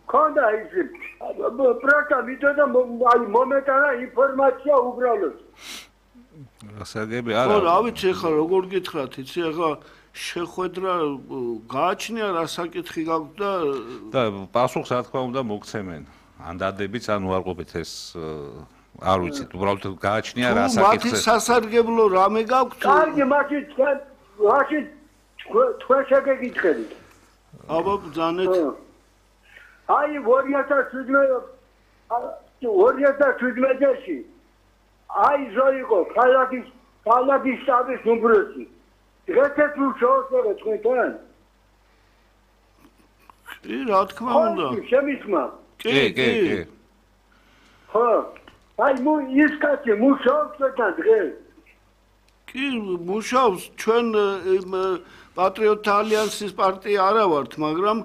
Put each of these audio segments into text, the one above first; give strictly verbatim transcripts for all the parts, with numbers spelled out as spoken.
ქონდა ის პროტა მიდოდა აი მომეტანა ინფორმაცია უბრალოდ. გასაგები არა. ხო, რა ვიცი ახლა როგორ გითხრათ, იცი ახლა შეხვედრა გააჩნია რა საკითხი გაქვს და და პასუხს რა თქმა უნდა მოგცემენ. ან დადებიც ან უარყოფით ეს არ ვიცით, უბრალოდ გააჩნია რა საკითხი. მათი სასარგებლო რამე გაქვთ? კარგი, მაშინ თქვენ მაშინ თქვენ შეგეკითხებით. აბა ბძანეთ. აი ორი ათას შვიდმეტში აი ზოიყო ქალაქის ქალაქის შტაბის უმროსი. დღესაც უშოთერე თქვენ? კი, რა თქმა უნდა. შემისმა. კი, კი, კი. ხო, აი მუ ის კაცი მუშაობს და დღეს. კი, მუშაობს, ჩვენ პატრიოტთა ალიანსის პარტია არა ვართ, მაგრამ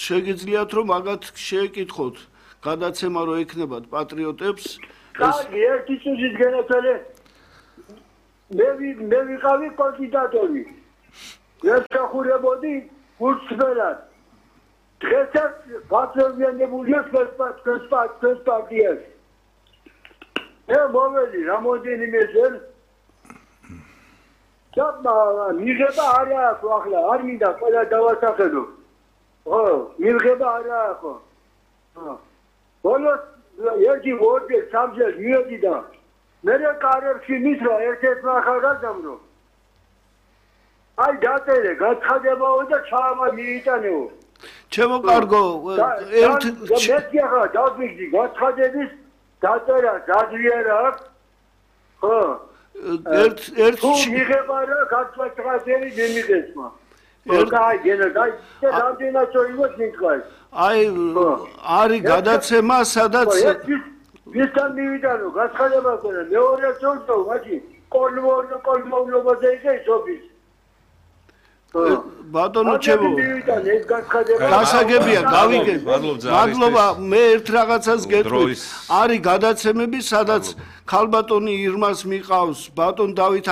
შეგიძლიათ რომ მაგათ შეეკითხოთ გადაცემა რო ექნებათ პატრიოტებს. კარგი, ერთი წუთის განაცხადე მე მე ვიყავი კანდიდატური. ერთხახურებოდი გულწრფელად. დღესაც გაწევიანებულია თქვენს პარტიას. მე მოვედი რამოდენიმე წელი და მიღება არ აქვს ახლა, არ მინდა ყველა დავასახელო. ხო, მიღება არ აქვს. ხო. ბოლოს ერთი ორი სამჯერ მივედი და მე კარებში მისვლა ერთ-ერთმა ახალგაზრდამ. აი დაწერე, გაცხადებაო და ჩაამა მიიტანეო. ჩემო კარგო, ერთ მეც ახლა დავიძი გაცხადების დაწერა დაძლიერა აქვს. ხო. ერთ ერთ მიღება რა გაცხადებელი მიმიღესმა. აი, გენა, აი, რამდენად წოიგოს მითხარ. აი, არის გადაცემა, სადაც ვისთან მივიდანო, გაცხადება ქონა, მეორე წოლტო, მაჩი, კოლმორნო, კოლმოვნობაზე იყო ისობის. ბატონო ჩემო გასაგებია გავიგე მადლობა მე ერთ რაღაცას გეტყვით არის გადაცემები სადაც ქალბატონი ირმას მიყავს ბატონ დავით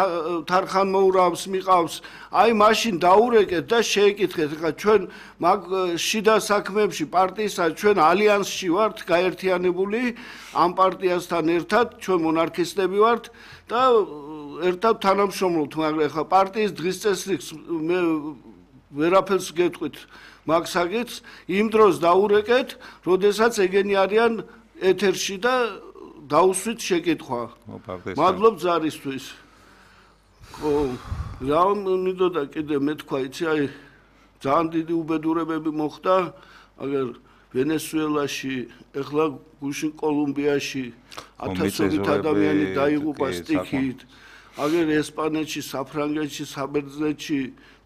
თარხანმოურავს მიყავს აი მაშინ დაურეკეთ და შეეკითხეთ ხა ჩვენ მაგ შიდა საქმეებში პარტიისა ჩვენ ალიანსში ვართ გაერთიანებული ამ პარტიასთან ერთად ჩვენ მონარქისტები ვართ და ერთად თანამშრომლობთ მაგრამ ხა პარტიის დღის წესრიგს მე ვერაფერს გეტყვით მაგ საკითხს იმ დროს დაურეკეთ როდესაც ეგენი არიან ეთერში და დაუსვით შეკითხვა მადლობ ზარისთვის ხო რა მინდოდა კიდე მე თქვა იცი აი ძალიან დიდი უბედურებები მოხდა აგერ ვენესუელაში ეხლა გუშინ კოლუმბიაში ათასობით ადამიანი დაიღუპა სტიქით აგერ ესპანეთში საფრანგეთში საბერძნეთში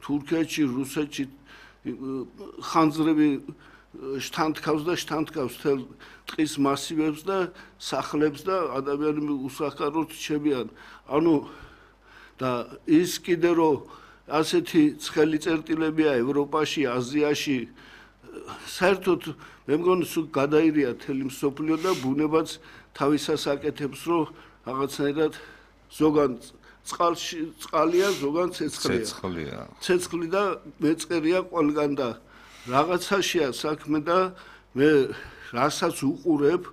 თურქეთში რუსეთში ხანძრები შთანთქავს და შთანთქავს თელ ტყის მასივებს და სახლებს და ადამიანები უსახკაროდ რჩებიან ანუ და ის კიდე რომ ასეთი ცხელი წერტილებია ევროპაში აზიაში საერთოდ მე მგონი სულ გადაირია თელი მსოფლიო და ბუნებაც თავისას აკეთებს რომ რაღაცნაირად ზოგან წყალში წყალია ზოგან ცეცხლია ცეცხლია ცეცხლი და მეწყერია ყველგან და რაღაცაშია საქმე და მე რასაც უყურებ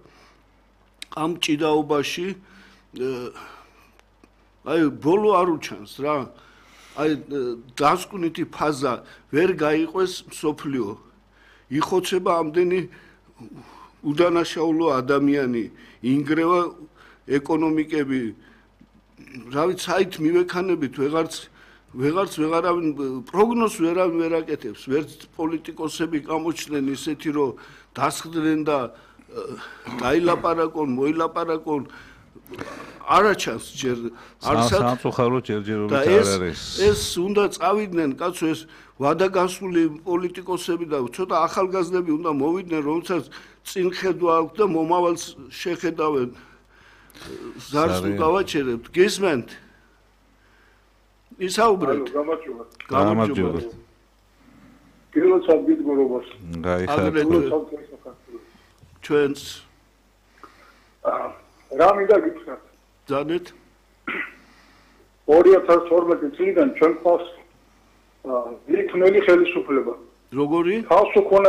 ამ ჭიდაობაში აი ბოლო არ უჩანს რა აი დასკვნითი ფაზა ვერ გაიყვეს მსოფლიო იხოცება ამდენი უდანაშაულო ადამიანი ინგრევა ეკონომიკები რა ვიცი საით მივექანებით ვეღარც ვეღარც ვეღარავინ პროგნოზს ვერავინ ვერ აკეთებს ვერც პოლიტიკოსები გამოჩნდნენ ისეთი რომ დასხდნენ და დაილაპარაკონ მოილაპარაკონ არაჩანს ჯერ არსად სამწუხაროდ ჯერჯერობით არ არის ეს უნდა წავიდნენ კაცო ეს ვადაგასული პოლიტიკოსები და ცოტა ახალგაზრდები უნდა მოვიდნენ რომელსაც წინხედვა აქვს და მომავალს შეხედავენ ზარს გავაჩერებთ გისმენთ ისაუბრეთ გამარჯობა გამარჯობა გილოცავ გიდგურობას გაიხარეთ ჩვენს რა მინდა გითხრათ ძანეთ ორი ათას თორმეტი წლიდან ჩვენ ყავს ვიქნელი ხელისუფლება როგორი ხალხს უქონა